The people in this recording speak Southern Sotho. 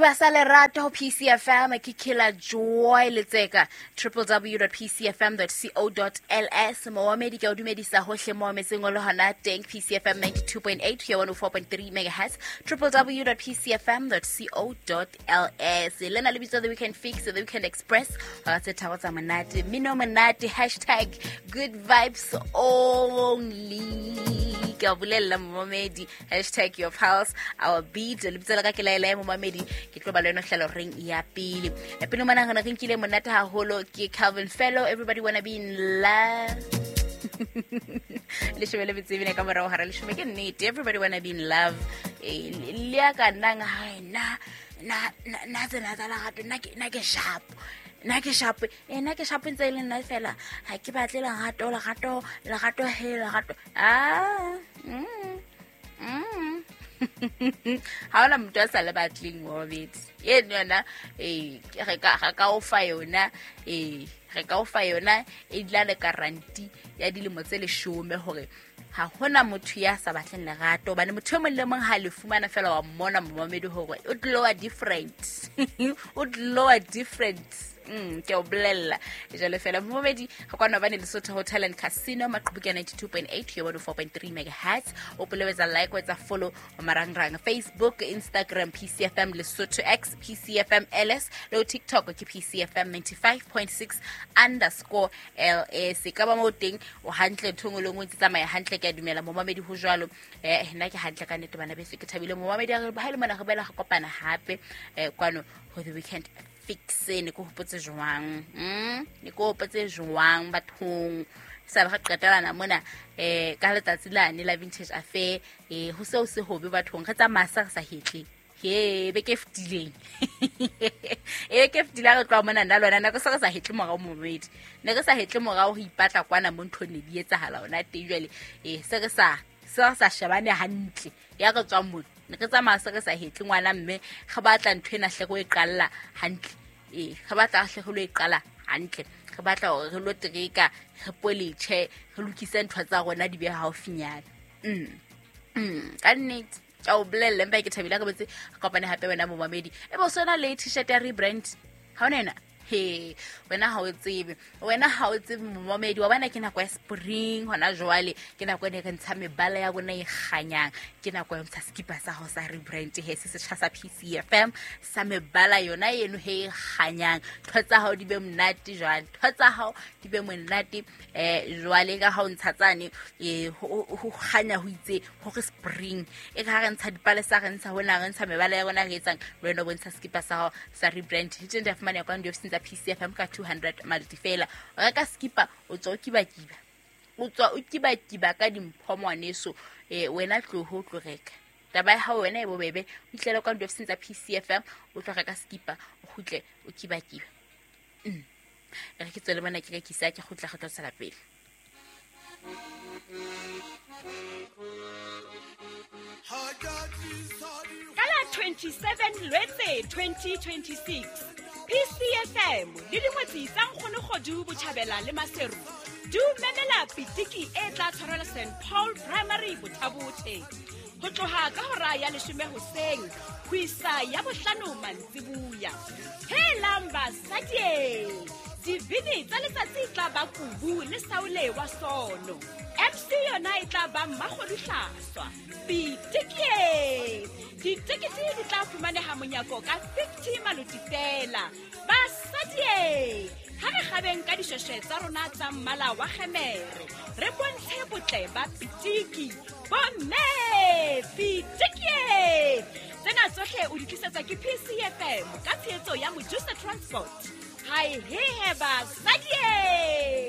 Sediba sa lerato ho PCFM ke Killer Joy Letseka, www.pcfm.co.ls. Moamedi, ke o dumedisa hohle mo metseng o le hona teng. PCFM 92.8 ho ya 104.3 megahertz, www.pcfm.co.ls. Lena le bitso The Weekend Fix, The Weekend Express, hora tse tharo tsa monate, mmino monate, #GoodVibes only. Ke a bolella momamedi, #YourPulse our beat. Lebitso la ka ke laela momamedi, ke tlo ba le wena hlalo reng ya pele. Pele mona re ne re nkile monate haholo ke Calvin Fellow, Everybody Wanna Be in Love. 12:20 ka morao hara 10. Ke nnete, everybody wanna be in love. Le ya ka nnang hai na na na tsena tsa lerato, nna ke sharp, nna ke sharp, nna ke sharp ntse e le nna fela. Ha ke batle lerato, lerato, lerato, he lerato. Ah, Ha ona motho a sa le batleng mobedi eno yona. Ee, re ka o fa yona, ee, re ka o fa yona e dula le guarantee ya dilemo tse 10 hore ha hona motho ya sa batleng lerato, hobane motho e mong le mong ha le fumana fela wa mmona momamedi hore o tloa different, o tloa different. Ke o bolella jalo fela momamedi. Ga kwana bane Lesotho Hotel and Casino, maqhubu ke 92.8 yo 4.3 megahertz. O polewetsa like, wetsa follow marangrang, Facebook, Instagram, PCFM Lesotho, X, PCFM LS, le ho TikTok ke PCFM 95.6_LS. Ka ba mo teng o hantle, ntho e nngwe le nngwe ntse tsamaya hantle. Ke a dumela momamedi ho jwalo. Nna ke hantle ka nnete, bana beso, ke thabile momamedi. Ha le mona re boela re kopana hape kwano ho The Weekend Fix. Ne ke hopotse jwang? Ne ke hopotse jwang bathong? Sa re qetelana mona ka letsatsi lane la Vintage Affair. Ho seo se hobe bathong, re tsamaya sa re sa hetle he beke e fetileng, e beke e fetileng re tloha mona nna le wena nako se re sa hetle morao momedi, ne re sa hetle morao ho ipatla kwana mo nthong ne di etsahala hona teng. Jwale se re sa shebane hantle ya re tswang mona, ne re tsamaya se re sa hetle ngwana mme re batla ntho ena hle re e qalla hantle. Ee, re batla hle re lo e qala hantle, re batla hore re lo tereka, re poletjhe, re lokise ntho tsa rona di be haufinyana. Ka nnete ka o bolelle, empa ke thabile re botse re kopane hape wena momamedi. E bo sona le T-shirt ya rebrand ha ona yona he wena ha o tsebe, wena ha o tsebe momamedi wa bona. Ke nako ya spring hona jwale, ke nako e ne re ntsha mebala ya rona e kganyang, ke nako ya ho ntsha sekipa sa hao sa rebrand he se setjha sa PCFM sa mebala yona eno he e kganyang. Ntho tsa hao di be monate jwale, ntho tsa hao di be monate. Jwale ka ha o ntsha tsane ho kganya ho itse hore spring e ka ha re ntsha dipalesa, re ntsha hona, re ntsha mebala ya rona, re etsang le wena o bontsha sekipa sa hao sa rebrand. Di teng, di a fumaneha kwana diofising tsa PCFM ka 200 maloti fela. O reka sekipa, o tswa o kibakiba, o tswa o kibakiba ka dimpho ngwaneso. Wena tloho o tlo reka taba ya hao wena e bobebe, o itlele kwa diofising tsa PCFM, o tlo reka sekipa, o kgutle o kibakiba. E re ke tswele mona ke rekisa, ke kgutla re tlo tswela pele. Ka la 27 Lwetse 2026, PCFM le dingwetsi tsa Nkgonogodu Botjhabela le Maseru di o memela pitiki e tla tshwarelwa St Paul Primary Bothabothe ho tloha ka hora ya 10 hoseng ho isa ya 5 mantsibuya. Helang basadie, dibini tsa letsatsi tla ba Kubu le Saule wa Sono, MC yona e tla ba Mmakgoduhlaswa. Pitikie, ditekete di tla fumaneha monyako ka 50 maloti fela. Basadie, ha re kgabeng ka dishweshwe tsa rona tsa mmala wa kgemere, re bontshe botle ba pitiki. Bomme, pitikie! Tsena tsohle o di tlisetsa ke PCFM ka tshehetso ya Mojusa Transport. Hae hehe basadie!